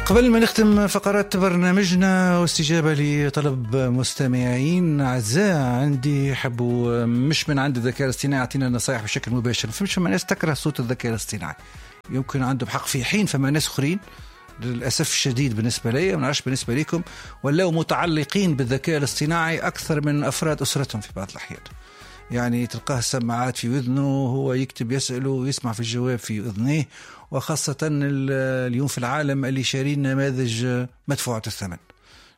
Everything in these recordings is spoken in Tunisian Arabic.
قبل ما نختم فقرات برنامجنا واستجابة لطلب مستمعين أعزاء عندي يحبوا مش من عند الذكاء الاصطناعي يعطينا نصائح بشكل مباشر. فمش فما ناس تكره صوت الذكاء الاصطناعي، يمكن عندهم حق في حين، فما ناس أخرين للأسف الشديد بالنسبة لي، ما نعرفش بالنسبة لكم، ولاو متعلقين بالذكاء الاصطناعي أكثر من أفراد أسرتهم في بعض الأحيان. يعني تلقاه السماعات في أذنه، هو يكتب يسأله ويسمع في الجواب في أذنيه، وخاصة اليوم في العالم اللي شارين نماذج مدفوعة الثمن،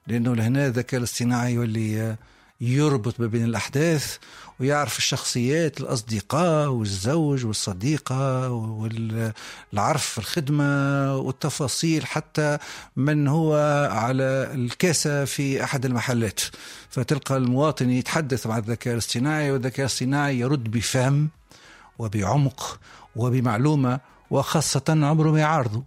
لأنه لهنا الذكاء الاصطناعي يولي يربط ما بين الأحداث ويعرف الشخصيات، الأصدقاء والزوج والصديقة والعرف في الخدمة والتفاصيل، حتى من هو على الكاسة في أحد المحلات. فتلقى المواطن يتحدث مع الذكاء الاصطناعي، والذكاء الاصطناعي يرد بفهم وبعمق وبمعلومة، وخاصة عمره ما يعارضه،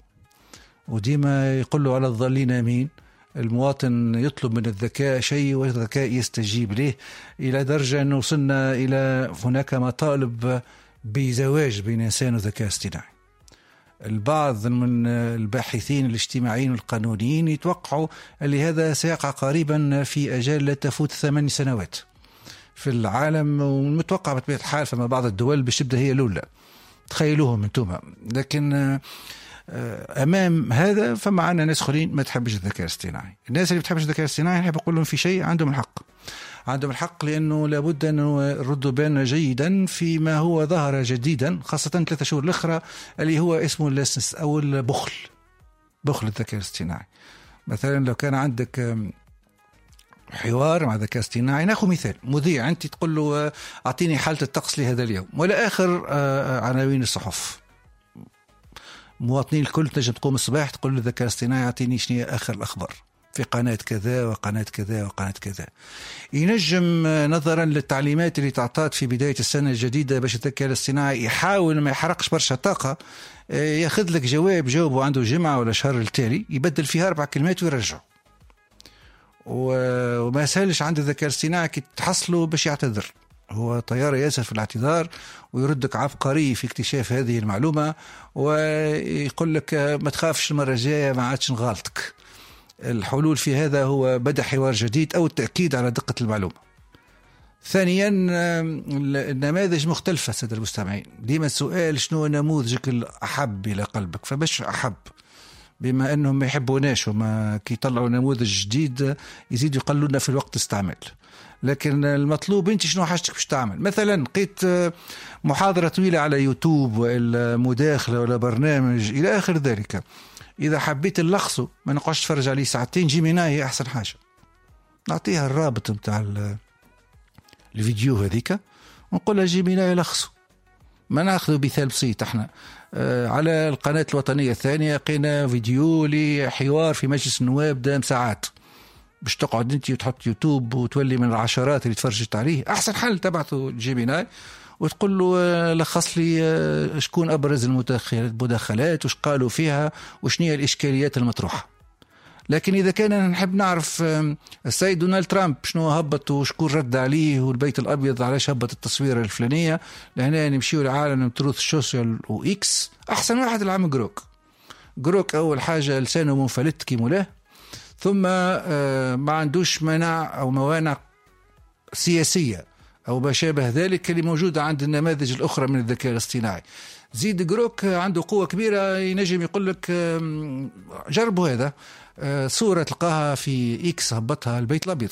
وديما يقول له على الضالين أمين. المواطن يطلب من الذكاء شيء والذكاء يستجيب له، إلى درجة أنه وصلنا إلى هناك مطالب بزواج بين إنسان وذكاء اصطناعي. البعض من الباحثين الاجتماعيين والقانونيين يتوقعوا اللي هذا سيقع قريبا في أجال لا تفوت 8 سنوات في العالم، والمتوقع بطبيعة الحال فما بعض الدول باش تبدأ هي الأولى، تخيلوهم انتم. لكن امام هذا فما عندنا ناس اخرين ما تحبش الذكاء الاصطناعي. الناس اللي بتحبش الذكاء الاصطناعي نحب نقول لهم في شيء، عندهم الحق، عندهم الحق، لانه لابد ان نردوا بالنا جيدا فيما هو ظهر جديدا، خاصة 3 شهور الاخرى، اللي هو اسمه اللسنس او البخل، بخل الذكاء الاصطناعي. مثلا لو كان عندك حوار مع الذكاء الاصطناعي، ناخذ مثال مذيع، انت تقول له اعطيني حاله الطقس لهذا اليوم ولا اخر عناوين الصحف. مواطنين الكل تنجم تقوم الصباح تقول للذكاء الاصطناعي اعطيني شنو اخر الاخبار في قناة كذا وقناة كذا وقناة كذا. ينجم نظرا للتعليمات اللي تعطات في بداية السنة الجديدة باش الذكاء الاصطناعي يحاول ما يحرقش برشا طاقة، ياخذ لك جواب جاوبه عنده جمعه ولا شهر التالي، يبدل فيها 4 كلمات ويرجعه. وما سهلش عند الذكاء الاصطناعي كي تحصله باش يعتذر، هو طيارة ياسر في الاعتذار ويردك عبقري في اكتشاف هذه المعلومة ويقول لك ما تخافش المرة الجاية ما عادش نغالطك. الحلول في هذا هو بدأ حوار جديد أو التأكيد على دقة المعلومة. ثانيا النماذج مختلفة سادة المستمعين، ديما السؤال شنو نموذجك الأحب إلى قلبك؟ فباش أحب، بما أنهم ما يحبوناش وما كي يطلعوا نموذج جديد يزيد يقللنا في الوقت استعمال. لكن المطلوب انت شنو حاجتك باش تعمل. مثلا لقيت محاضرة طويلة على يوتيوب ولا مداخلة ولا برنامج إلى آخر ذلك، إذا حبيت نلخصه ما نقعدش تفرج عليه ساعتين، Gemini هي أحسن حاجة. نعطيها الرابط نتاع الفيديو هذيك ونقول لها Gemini لخصه. ما ناخذ مثال بسيط، احنا على القناة الوطنية الثانية لقينا فيديو لحوار في مجلس النواب دام ساعات، باش تقعد انت وتحط يوتيوب وتولي من العشرات اللي تفرجت عليه. احسن حل تبعته Gemini وتقول له لخص لي شكون ابرز المداخلات وش قالوا فيها وشنو هي الاشكاليات المطروحة. لكن اذا كان نحب نعرف السيد دونالد ترامب شنو هبط وشكون رد عليه والبيت الابيض علاش هبط التصويره الفلانية، لهنا نمشيو لعالم Truth Social و X. احسن واحد العام Grok. Grok اول حاجة لسانه منفلت كي مولاه، ثم ما عندوش منع أو موانع سياسية أو ما شابه ذلك اللي موجودة عند النماذج الأخرى من الذكاء الاصطناعي. زيد Grok عنده قوة كبيرة، ينجم يقول لك جربوا هذا، صورة تلقاها في X هبطها البيت الأبيض.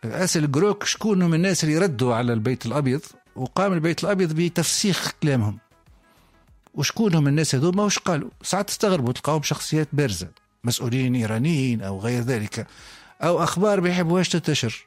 أسأل Grok شكون من الناس اللي ردوا على البيت الأبيض، وقام البيت الأبيض بتفسيخ كلامهم، وشكون هم الناس هذوما وش قالوا. ساعات تستغربوا تلقاهم شخصيات بارزة، مسؤولين إيرانيين أو غير ذلك، أو أخبار ما يحبوهاش تنتشر.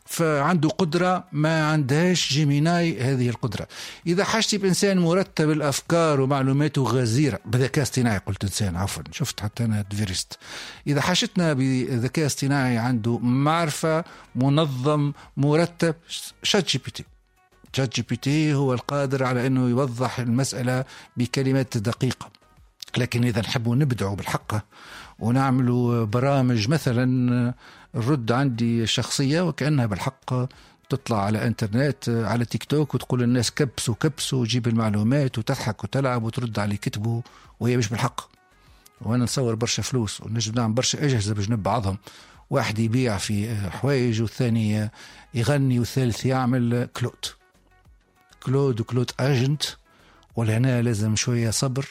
فعنده قدرة ما عندهاش Gemini هذه القدرة. إذا حاجتي بإنسان مرتب الأفكار ومعلوماته غزيرة بذكاء اصطناعي، قلت إنسان عفوا، شفت حتى أنا دفيرست. إذا حاجتنا بذكاء اصطناعي عنده معرفة، منظم، مرتب، شات جي بي تي. شات جي بي تي هو القادر على أنه يوضح المسألة بكلمات دقيقة. لكن إذا نحبوا نبدعوا بالحق ونعملوا برامج، مثلا الرد عندي شخصية وكأنها بالحق تطلع على انترنت على تيك توك وتقول للناس كبسوا كبسوا وجيب المعلومات وتضحك وتلعب وترد على اللي كتبوا وهي مش بالحق. وانا نصور برشا فلوس ونجم نعمل برشا اجهزة بجنب بعضهم، واحد يبيع في حوايج والثاني يغني والثالث يعمل Claude، Claude و Claude agent. ولهنا لازم شوية صبر.